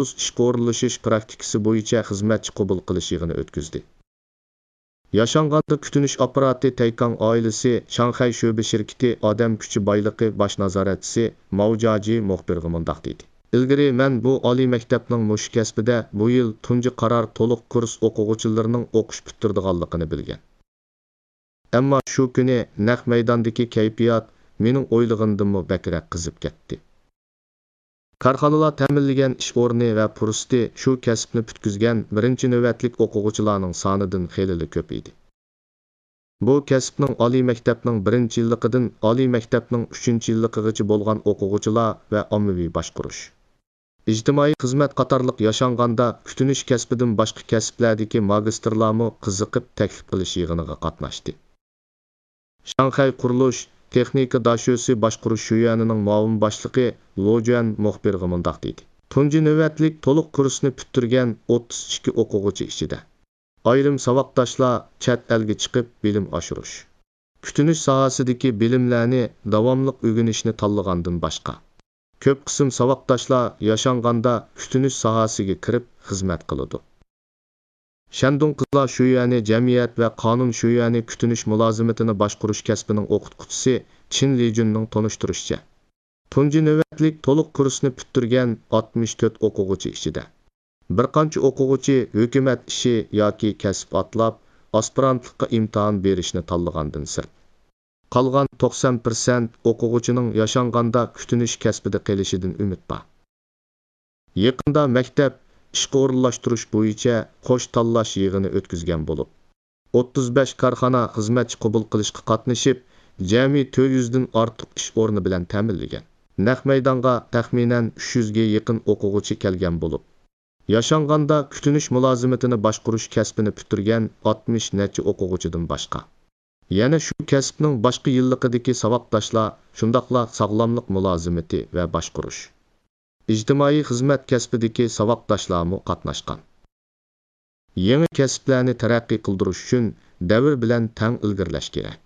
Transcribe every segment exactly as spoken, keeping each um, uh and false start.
مەخسۇس ئىشقا ئورۇنلىشىش پراكتىكىسى بويىچە خىزمەتچى قوبۇل قىلىش يىغىنى ئۆتكۈزدى. ياشانغاندا كۈتۈنۈش ئاپپاراتى تەيكاڭ ئائىلىسى شاڭخەي شۆبە شىركىتى ئادەم كۈچى بايلىقى باش نازارەتچىسى ماۋ جاجى مۇخبىرغا مۇنداق دېدى: ئىلگىرى مەن بۇ ئالىي مەكتەپنىڭ مۇشۇ كەسپىدە بۇ يىل تۇنجى قارار تولۇق كۇرس ئوقۇغۇچىلىرىنىڭ ئوقۇش پۈتتۈرىدىغانلىقىنى بىلگەن. ئەمما شۇ كۈنى نەق مەيداندىكى كەيپىيات مېنىڭ ئويلىغىنىمدىنمۇ بەكرەك قىزىپ كەتتى. كارخانىلار تەمىنلىگەن ئىش ئورنى ۋە پۇرسىتى شۇ كەسىپنى پۈتكۈزگەن بىرىنچى نۆۋەتلىك ئوقۇغۇچىلارنىڭ سانىدىن خېلىلا كۆپ ئىدى. بۇ كەسىپنىڭ ئالىي مەكتەپنىڭ بىرىنچى يىللىقىدىن ئالىي مەكتەپنىڭ ئۈچىنچى يىللىقىغىچە بولغان ئوقۇغۇچىلار ۋە ئاممىۋى باشقۇرۇش، ئىجتىمائىي خىزمەت قاتارلىق ياشانغاندا كۈتۈنۈش كەسپىدىن باشقا كەسىپلەردىكى ماگىستىرلارمۇ قىزىقىپ تەكلىپ قىلىش يىغىنىغا قاتناشتى. شاڭخەي قۇرۇلۇش تېخنىكا داشۆسى باشقۇرۇش شۆيۈەنىنىڭ مۇئاۋىن باشلىقى لو جۈەن مۇخبىرغا مۇنداق دېدى: تۇنجى نۆۋەتلىك تولۇق كۇرسنى پۈتتۈرگەن ئوتتۇز ئىككى ئوقۇغۇچى ئىچىدە ئايرىم ساۋاقداشلار چەت ئەلگە چىقىپ بىلىم ئاشۇرۇش، كۈتۈنۈش ساھەسىدىكى بىلىملەرنى داۋاملىق ئۆگىنىشنى تاللىغاندىن باشقا، كۆپ قىسىم ساۋاقداشلار ياشانغاندا كۈتۈنۈش ساھەسىگە كىرىپ خىزمەت قىلىدۇ. شەندۇڭ قىزلار شۆيۈەنى جەمئىيەت ۋە قانۇن شۆيۈەنى كۈتۈنۈش مۇلازىمىتىنى باشقۇرۇش كەسپىنىڭ ئوقۇتقۇچىسى چىن لىجۈننىڭ تونۇشتۇرۇشىچە، تۇنجى نۆۋەتلىك تولۇق كۇرسنى پۈتتۈرگەن ئاتمىش تۆت ئوقۇغۇچى ئىچىدە بىر قانچە ئوقۇغۇچى ھۆكۈمەت ئىشى ياكى كەسىپ ئاتلاپ، ئاسپىرانتلىققا ئىمتىھان بېرىشنى تاللىغاندىن سىرت، قالغان توقسان پىرسەنت ئوقۇغۇچىنىڭ ياشانغاندا كۈتۈنۈش كەسپىدە قېلىشىدىن ئۈمىد بار. يېقىندا مەكتەپ ئىشقا ئورۇنلاشتۇرۇش بويىچە قوش تاللاش يىغىنى ئۆتكۈزگەن بولۇپ، ئوتتۇز بەش كارخانا خىزمەتچى قوبۇل قىلىشقا قاتنىشىپ، جەمئىي تۆت يۈزدىن ئارتۇق ئىش ئورنى بىلەن تەمىنلىگەن. نەق مەيدانغا تەخمىنەن ئۈچ يۈزگە يېقىن ئوقۇغۇچى كەلگەن بولۇپ، ياشانغاندا كۈتۈنۈش مۇلازىمىتىنى باشقۇرۇش كەسپىنى پۈتتۈرگەن ئاتمىش نەچچە ئوقۇغۇچىدىن باشقا، يەنە شۇ كەسىپنىڭ باشقا يىللىقىدىكى ساۋاقداشلار، شۇنداقلا ساغلاملىق مۇلازىمىتى ۋە باشقۇرۇش، ئىجتىمائىي خىزمەت كەسپىدىكى ساۋاقداشلارمۇ قاتناشقان. يېڭى كەسىپلەرنى تەرەققىي قىلدۇرۇش ئۈچۈن دەۋر بىلەن تەڭ ئىلگىرىلەش كېرەك.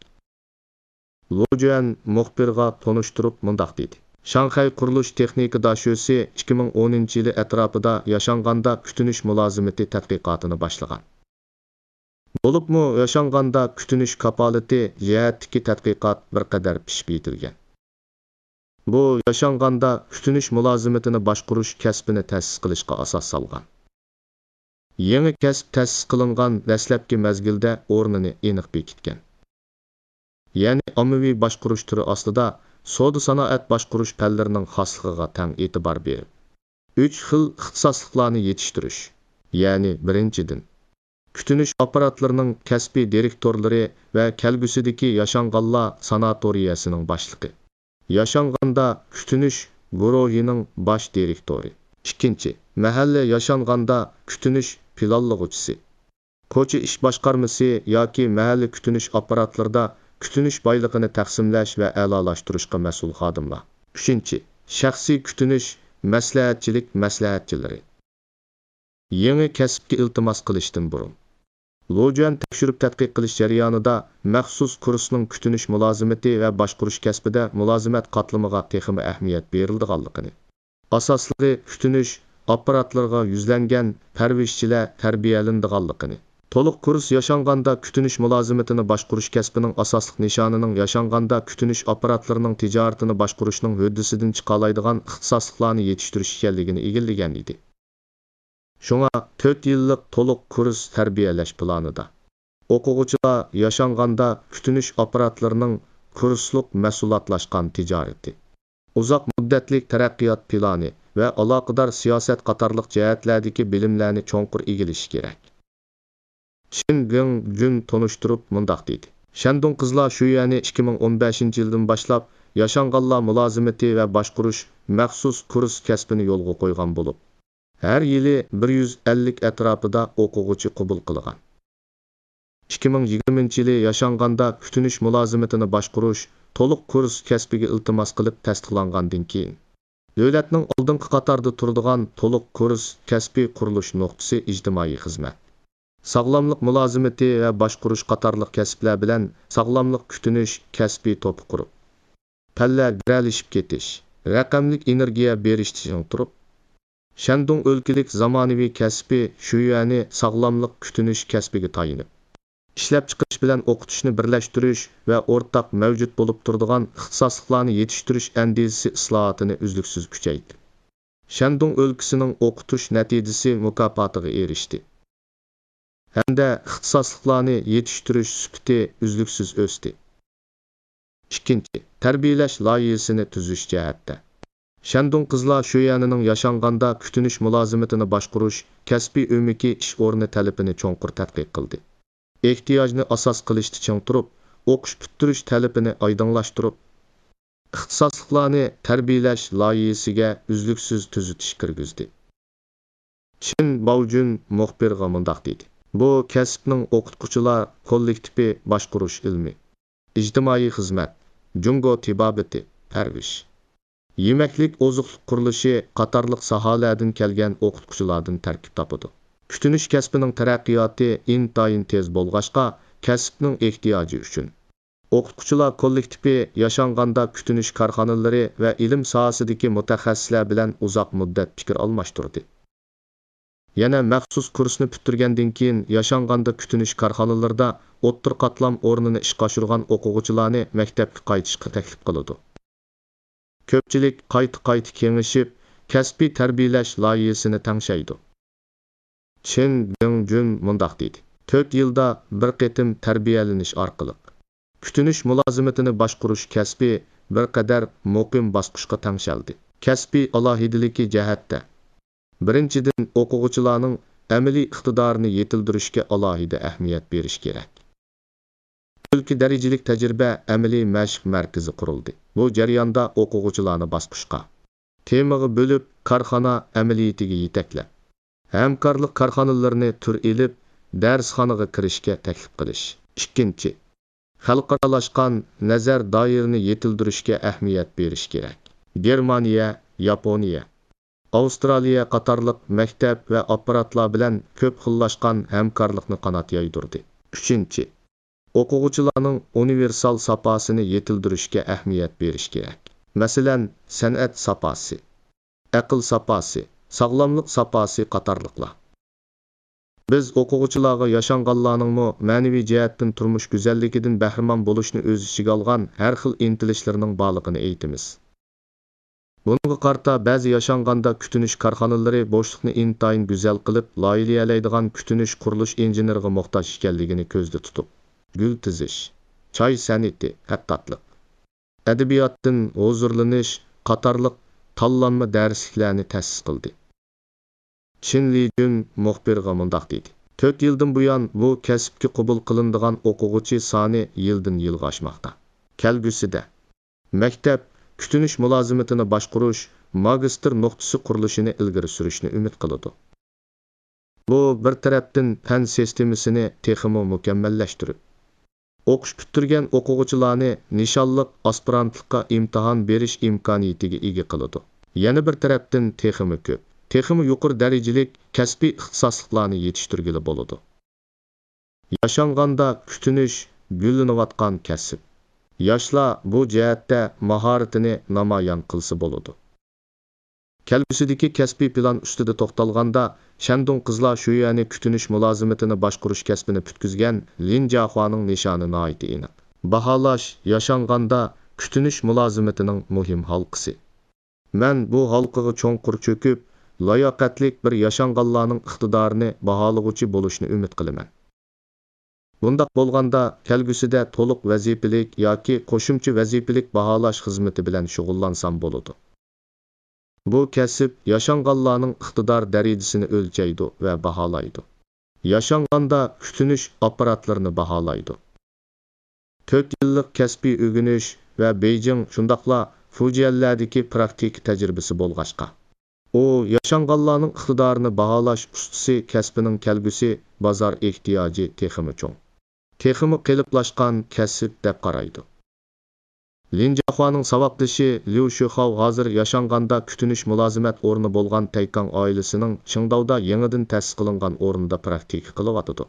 لو جۈەن مۇخبىرغا تونۇشتۇرۇپ مۇنداق دېدى: شاڭخەي قۇرۇلۇش تېخنىكا داشۆسى ئىككى مىڭ ئونىنچى يىلى ئەتراپىدا ياشانغاندا كۈتۈنۈش مۇلازىمىتى تەتقىقاتىنى باشلىغان. بولۇپمۇ ياشانغاندا كۈتۈنۈش كاپالىتى جەھەتتىكى تەتقىقات بىر قەدەر پىشىپ يېتىلگەن. بۇ ياشانغاندا كۈتۈنۈش مۇلازىمىتىنى باشقۇرۇش كەسپىنى تەسىس قىلىشقا ئاساس سالغان. يېڭى كەسىپ تەسىس قىلىنغان دەسلەپكى مەزگىلدە ئورنىنى ئېنىق بېكىتكەن. يەنى ئاممىۋى باشقۇرۇش تۈرى ئاستىدا سودا سانائەت باشقۇرۇش پەنلىرىنىڭ خاسلىقىغا تەڭ ئېتىبار بېرىپ، ئۈچ خىل ئىختىساسلىقلارنى يېتىشتۈرۈش، يەنى بىرىنچىدىن، كۈتۈنۈش ئاپپاراتلىرىنىڭ كەسپىي دىرېكتورلىرى ۋە كەلگۈسىدىكى ياشانغانلار ساناتورىيەسىنىڭ باشلىقى، ياشانغاندا كۈتۈنۈش گۇرۇھىنىڭ باش دىرېكتورى. ئىككىنچى، مەھەللە ياشانغاندا كۈتۈنۈش پىلانلىغۇچىسى، كوچا ئىش باشقارمىسى ياكى مەھەللە كۈتۈنۈش ئاپپاراتلىرىدا كۈتۈنۈش بايلىقىنى تەقسىملەش ۋە ئەلالاشتۇرۇشقا مەسئۇل خادىملار. ئۈچىنچى، شەخسىي كۈتۈنۈش مەسلىھەتچىلىك مەسلىھەتچىلىرى. يېڭى كەسىپكە ئىلتىماس قىلىشتىن بۇرۇن، لو جۈەن تەكشۈرۈپ تەتقىق قىلىش جەريانىدا مەخسۇس كۇرسنىڭ كۈتۈنۈش مۇلازىمىتى ۋە باشقۇرۇش كەسپىدە مۇلازىمەت قاتلىمىغا تېخىمۇ ئەھمىيەت بېرىلىدىغانلىقىنى، ئاساسلىقى كۈتۈنۈش ئاپپاراتلىرىغا يۈزلەنگەن پەرۋىشچىلەر تەربىيەلىنىدىغانلىقىنى، تولۇق كۇرس ياشانغاندا كۈتۈنۈش مۇلازىمىتىنى باشقۇرۇش كەسپىنىڭ ئاساسلىق نىشانىنىڭ ياشانغاندا كۈتۈنۈش ئاپپاراتلىرىنىڭ تىجارىتىنى باشقۇرۇشنىڭ ھۆددىسىدىن چىقالايدىغان ئىختىساسلىقلارنى يېتىشتۈرۈش ئىكەنلىكىنى ئىگىلىگەن ئىدى. شۇڭا تۆت يىللىق تولۇق كۇرس تەربىيەلەش پىلانىدا ئوقۇغۇچىلار ياشانغاندا كۈتۈنۈش ئاپپاراتلىرىنىڭ كۇرسلۇق مەھسۇلاتلاشقان تىجارىتى، ئۇزاق مۇددەتلىك تەرەققىيات پىلانى ۋە ئالاقىدار سىياسەت قاتارلىق جەھەتلەردىكى بىلىملەرنى چوڭقۇر ئىگىلىشى كېرەك. چىن گېڭ جۈن تونۇشتۇرۇپ مۇنداق دېدى: شەندۇڭ قىزلار شۆيۈەنى ئىككى مىڭ ئون بەشىنچى يىلدىن باشلاپ ياشانغانلار مۇلازىمىتى ۋە باشقۇرۇش مەخسۇس كۇرس كەسپىنى يولغا قويغان بولۇپ، ھەر يىلى بىر يۈز ئەللىك ئەتراپىدا ئوقۇغۇچى قوبۇل قىلغان. ئىككى مىڭ يىگىرمىنچى يىلى ياشانغاندا كۈتۈنۈش مۇلازىمىتىنى باشقۇرۇش تولۇق كۇرس كەسپىگە ئىلتىماس قىلىپ تەستىقلانغاندىن كېيىن، دۆلەتنىڭ ئالدىنقى قاتاردا تۇرىدىغان تولۇق كۇرس كەسپىي قۇرۇلۇش نۇقتىسى ئىجتىمائىي خىزمەت، ساغلاملىق مۇلازىمىتى ۋە باشقۇرۇش قاتارلىق كەسىپلەر بىلەن ساغلاملىق كۈتۈنۈش كەسپىي توپى قۇرۇپ، پەنلەر گىرەلىشىپ كېتىش، رەقەملىك ئېنېرگىيە بېرىشتە چىڭ تۇرۇپ، شەندۇڭ ئۆلكىلىك زامانىۋى كەسپى شۈيۈەنى ساغلاملىق كۈتۈنۈش كەسپىگە تايىنىپ، ئىشلەپچىقىرىش بىلەن ئوقۇتۇشنى بىرلەشتۈرۈش ۋە ئورتاق مەۋجۇت بولۇپ تۇرىدىغان ئىختىساسلىقلارنى يېتىشتۈرۈش ئەندىزىسى ئىسلاھاتىنى ئۈزلۈكسىز كۈچەيتتى. شەندۇڭ ئۆلكىسىنىڭ ئوقۇتۇش نەتىجىسى مۇكاپاتىغا ئېرىشتى ھەمدە ئىختىساسلىقلارنى يېتىشتۈرۈش سۈپىتى ئۈزلۈكسىز ئۆستى. ئىككىنچى، تەربىيەلەش لايىھەسىنى تۈزۈش جەھەتتە. شەندۇڭ قىزلار شۆيەنىنىڭ ياشانغاندا كۈتۈنۈش مۇلازىمىتىنى باشقۇرۇش كەسپىي ئۆمىكى ئىش ئورنى تەلىپىنى چوڭقۇر تەتقىق قىلدى. ئېھتىياجنى ئاساس قىلىشتا چىڭ تۇرۇپ، ئوقۇش پۈتتۈرۈش تەلىپىنى ئايدىڭلاشتۇرۇپ، ئىختىساسلىقلارنى تەربىيەلەش لايىھەسىگە ئۈزلۈكسىز تۈزىتىش كىرگۈزدى. چىن باۋجۈن مۇخبىرغا مۇنداق دېدى: بۇ كەسىپنىڭ ئوقۇتقۇچىلار كوللېكتىپى باشقۇرۇش ئىلمى، ئىجتىمائىي خىزمەت، جۇڭگو تېبابىتى، پەرۋىش، يېمەكلىك ئوزۇقلۇق قۇرۇلۇشى قاتارلىق ساھەلەردىن كەلگەن ئوقۇتقۇچىلاردىن تەركىب تاپىدۇ. كۈتۈنۈش كەسپىنىڭ تەرەققىياتى ئىنتايىن تېز بولغاچقا، كەسىپنىڭ ئېھتىياجى ئۈچۈن ئوقۇتقۇچىلار كوللېكتىپى ياشانغاندا كۈتۈنۈش كارخانىلىرى ۋە ئىلىم ساھەسىدىكى مۇتەخەسسىسلەر بىلەن ئۇزاق مۇددەت پىكىر ئالماشتۇردى. يەنە مەخسۇس كۇرسنى پۈتتۈرگەندىن كېيىن، ياشانغاندا كۈتۈنۈش كارخانىلىرىدا ئوتتۇرا قاتلام ئورنىنى ئىشقا ئاشۇرغان ئوقۇغۇچىلارنى مەكتەپكە قايتىشقا تەكلىپ قىلىدۇ. كۆپچىلىك قايتا-قايتا كېڭىشىپ، كەسپىي تەربىيەلەش لايىھەسىنى تەڭشەيدۇ. چىن بىڭجۈن مۇنداق دېدى: تۆت يىلدا بىر قېتىم تەربىيەلىنىش ئارقىلىق، كۈتۈنۈش مۇلازىمىتىنى باشقۇرۇش كەسپى بىر قەدەر مۇقىم باسقۇچقا تەڭشەلدى. كەسپىي ئالاھىدىلىكى جەھەتتە، بىرىنچىدىن، ئوقۇغۇچىلارنىڭ ئەمەلىي ئىقتىدارىنى يېتىلدۈرۈشكە ئالاھىدە ئەھمىيەت بېرىش كېرەك. ئۆلكە دەرىجىلىك تەجرىبە ئەمەلىي مەشىق مەركىزى قۇرۇلدى. بۇ جەرياندا ئوقۇغۇچىلارنى باسقۇچقا، تېمىغا بۆلۈپ، كارخانا ئەمەلىيىتىگە يېتەكلەپ، ھەمكارلىق كارخانىلىرىنى تۈر ئېلىپ، دەرسخانىغا كىرىشكە تەكلىپ قىلىش. ئىككىنچى، خەلقئارالاشقان نەزەر دائىرىنى يېتىلدۈرۈشكە ئەھمىيەت بېرىش كېرەك. گېرمانىيە، ياپونىيە، ئاۋسترالىيە قاتارلىق مەكتەپ ۋە ئاپپاراتلار بىلەن كۆپ خىللاشقان ھەمكارلىقنى قانات يايدۇردى. ئۈچىنچى، ئوقۇغۇچىلارنىڭ ئۇنىۋېرسال ساپاسىنى يېتىلدۈرۈشكە ئەھمىيەت بېرىش كېرەك. مەسىلەن، سەنئەت ساپاسى، ئەقىل ساپاسى، ساغلاملىق ساپاسى قاتارلىقلار. بىز ئوقۇغۇچىلارغا ياشانغانلارنىڭمۇ مەنىۋى جەھەتتىن تۇرمۇش گۈزەللىكىدىن بەھرىمەن بولۇشنى ئۆز ئىچىگە ئالغان ھەر خىل ئىنتىلىشلىرىنىڭ بارلىقىنى ئېيتىمىز. بۇنىڭغا قارىتا، بەزى ياشانغاندا كۈتۈنۈش كارخانىلىرى بوشلۇقنى ئىنتايىن گۈزەل قىلىپ لايىھەلەيدىغان كۈتۈنۈش قۇرۇلۇش ئىنژېنېرىغا موھتاج ئىكەنلىكىنى كۆزدە تۇتۇپ، گۈل تىزىش، چاي سەنئىتى، خەتتاتلىق، ئەدەبىياتتىن ھۇزۇرلىنىش قاتارلىق تاللانما دەرسلىكلەرنى تەسىس قىلدى. چىن لىجۈن مۇخبىرغا مۇنداق دېدى: تۆت يىلدىن بۇيان، بۇ كەسىپكە قوبۇل قىلىنىدىغان ئوقۇغۇچى سانى يىلدىن يىلغا ئاشماقتا. كەلگۈسىدە، مەكتەپ كۈتۈنۈش مۇلازىمىتىنى باشقۇرۇش ماگىستىر نۇقتىسى قۇرۇلۇشىنى ئىلگىرى سۈرۈشنى ئۈمىد قىلىدۇ. بۇ، بىر تەرەپتىن، پەن سىستېمىسىنى تېخىمۇ مۇكەممەللەشتۈرۈپ، ئوقۇش پۈتتۈرگەن ئوقۇغۇچىلارنى نىشانلىق ئاسپىرانتلىققا ئىمتىھان بېرىش ئىمكانىيىتىگە ئىگە قىلىدۇ. يەنە بىر تەرەپتىن، تېخىمۇ كۆپ، تېخىمۇ يۇقىرى دەرىجىلىك كەسپىي ئىختىساسلىقلارنى يېتىشتۈرگىلى بولىدۇ. ياشانغاندا كۈتۈنۈش گۈللىنىۋاتقان كەسىپ. ياشلار بۇ جەھەتتە ماھارىتىنى نامايان قىلسا بولىدۇ. كەلگۈسىدىكى كەسپىي پىلان ئۈستىدە توختالغاندا، شەندۇڭ قىزلار شۆيۈەنى كۈتۈنۈش مۇلازىمىتىنى باشقۇرۇش كەسپىنى پۈتكۈزگەن لىن جياخۇانىڭ نىشانى ناھايىتى ئېنىق. باھالاش ياشانغاندا كۈتۈنۈش مۇلازىمىتىنىڭ مۇھىم ھالقىسى. مەن بۇ ھالقىغا چوڭقۇر چۆكۈپ، لاياقەتلىك بىر ياشانغانلارنىڭ ئىقتىدارىنى باھالىغۇچى بولۇشنى ئۈمىد قىلىمەن. بۇنداق بولغاندا، كەلگۈسىدە تولۇق ۋەزىپىلىك ياكى قوشۇمچە ۋەزىپىلىك باھالاش خىزمىتى بىلەن شۇغۇللانسام بولىدۇ. بۇ كەسىپ ياشانغانلارنىڭ ئىقتىدار دەرىجىسىنى ئۆلچەيدۇ ۋە باھالايدۇ. ياشانغاندا كۈتۈنۈش ئاپپاراتلىرىنى باھالايدۇ. تۆت يىللىق كەسپىي ئۆگىنىش ۋە بېيجىڭ، شۇنداقلا فۇجيەنلەردىكى پراكتىكا تەجرىبىسى بولغاچقا، ئۇ ياشانغانلارنىڭ ئىقتىدارىنى باھالاش ئۇستىسى كەسپىنىڭ كەلگۈسى بازار ئېھتىياجى تېخىمۇ چوڭ، تېخىمۇ قېلىپلاشقان كەسىپ دەپ قارايدۇ. لىن جياخۇانىڭ ساۋاقدىشى ليۇ شۆخاۋ ھازىر ياشانغاندا كۈتۈنۈش مۇلازىمەت ئورنى بولغان تەيكاڭ ئائىلىسىنىڭ چىڭداۋدا يېڭىدىن تەسىس قىلىنغان ئورنىدا پراكتىكا قىلىۋاتىدۇ.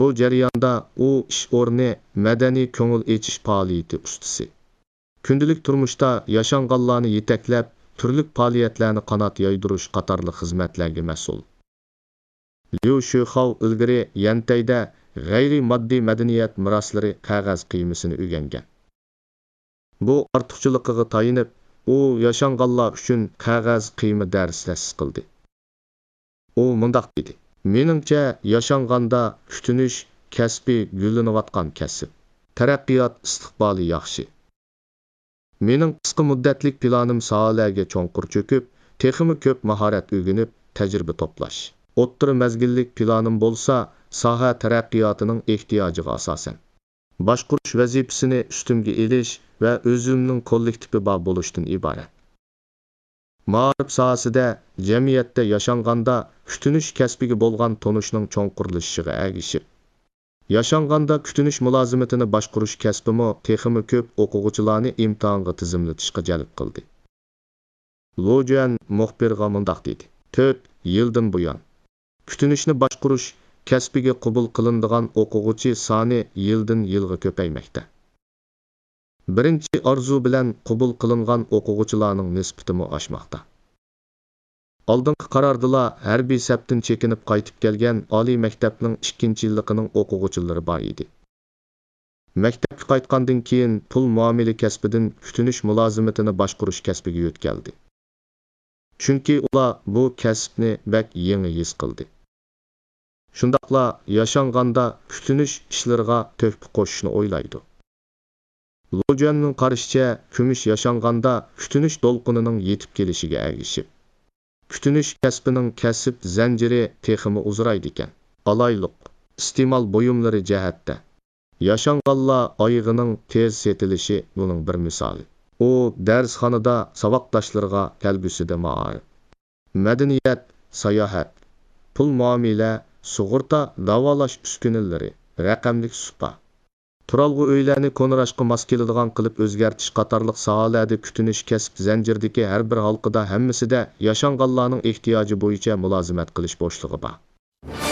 بۇ جەرياندا ئۇ ئىش ئورنى مەدەنىي كۆڭۈل ئېچىش پائالىيىتى ئۇستىسى، كۈندىلىك تۇرمۇشتا ياشانغانلارنى يېتەكلەپ، تۈرلۈك پائالىيەتلەرنى قانات يايدۇرۇش قاتارلىق خىزمەتلەرگە مەسئۇل. ليۇ شۆخاۋ ئىلگىرى يەنتەيدە غەيرىي ماددىي مەدەنىيەت مىراسلىرى قەغەز قىيمىسىنى ئۆگەنگەن. بۇ ئارتۇقچىلىقىغا تايىنىپ، ئۇ ياشانغانلار ئۈچۈن قەغەز قىيما دەرسى تەسىس قىلدى. ئۇ مۇنداق دېدى: مېنىڭچە، ياشانغاندا كۈتۈنۈش كەسپى گۈللىنىۋاتقان كەسىپ. تەرەققىيات ئىستىقبالى ياخشى. مېنىڭ قىسقا مۇددەتلىك پىلانىم ساھەلەرگە چوڭقۇر چۆكۈپ، تېخىمۇ كۆپ ماھارەت ئۆگىنىپ، تەجرىبە توپلاش. ئوتتۇرا مەزگىللىك پىلانىم بولسا ساھە تەرەققىياتىنىڭ ئېھتىياجىغا ئاساسەن، باشقۇرۇش ۋەزىپىسىنى ئۈستۈمگە ئېلىش ۋە ئۆزۈمنىڭ كوللېكتىپى بار بولۇشتىن ئىبارەت. مائارىپ ساھەسىدە جەمئىيەتتە ياشانغاندا كۈتۈنۈش كەسپىگە بولغان تونۇشنىڭ چوڭقۇرلىشىشىغا ئەگىشىپ، ياشانغاندا كۈتۈنۈش مۇلازىمىتىنى باشقۇرۇش كەسپىمۇ تېخىمۇ كۆپ ئوقۇغۇچىلارنى ئىمتىھانغا تىزىملىتىشقا جەلپ قىلدى. لو جۈەن مۇخبىرغا مۇنداق دېدى: تۆت يىلدىن بۇيان، كۈتۈنۈشنى باشقۇرۇش كەسپىگە قوبۇل قىلىنىدىغان ئوقۇغۇچى سانى يىلدىن يىلغا كۆپەيمەكتە. بىرىنچى ئارزۇ بىلەن قوبۇل قىلىنغان ئوقۇغۇچىلارنىڭ نىسبىتىمۇ ئاشماقتا. ئالدىنقى قاراردا ھەربىي سەپتىن چېكىنىپ قايتىپ كەلگەن ئالىي مەكتەپنىڭ ئىككىنچى يىللىقىنىڭ ئوقۇغۇچىلىرى بار ئىدى. مەكتەپكە قايتقاندىن كېيىن پۇل مۇئامىلە كەسپىدىن كۈتۈنۈش مۇلازىمىتىنى باشقۇرۇش كەسپىگە يۆتكەلدى. چۈنكى ئۇلار بۇ كەسىپنى بەك يېڭى ھېس قىلدى. شۇنداقلا ياشانغاندا كۈتۈنۈش ئىشلىرىغا تۆھپە قوشۇشنى ئويلايدۇ. لو جۈەننىڭ قارىشىچە، كۈمۈش ياشانغاندا كۈتۈنۈش دولقۇنىنىڭ يېتىپ كېلىشىگە ئەگىشىپ، كۈتۈنۈش كەسپىنىڭ كەسىپ زەنجىرى تېخىمۇ ئۇزىرايدىكەن. ئالايلۇق، ئىستېمال بۇيۇملىرى جەھەتتە، ياشانغانلار ئايىغىنىڭ تېز سېتىلىشى بۇنىڭ بىر مىسالى. ئۇ دەرسخانىدا ساۋاقداشلىرىغا كەلگۈسىدە مائارىپ، مەدەنىيەت، ساياھەت، پۇل مۇئامىلە، سۇغۇرتا، داۋالاش ئۈسكۈنىلىرى، رەقەملىك سۇپا، تۇرالغۇ ئۆيلەرنى كونىراشقا ماس كېلىدىغان قىلىپ ئۆزگەرتىش قاتارلىق ساھەلەردە كۈتۈنۈش كەسىپ زەنجىرىدىكى ھەر بىر ھالقىدا ھەممىسىدە ياشانغانلارنىڭ ئېھتىياجى بويىچە مۇلازىمەت قىلىش بوشلۇقى بار.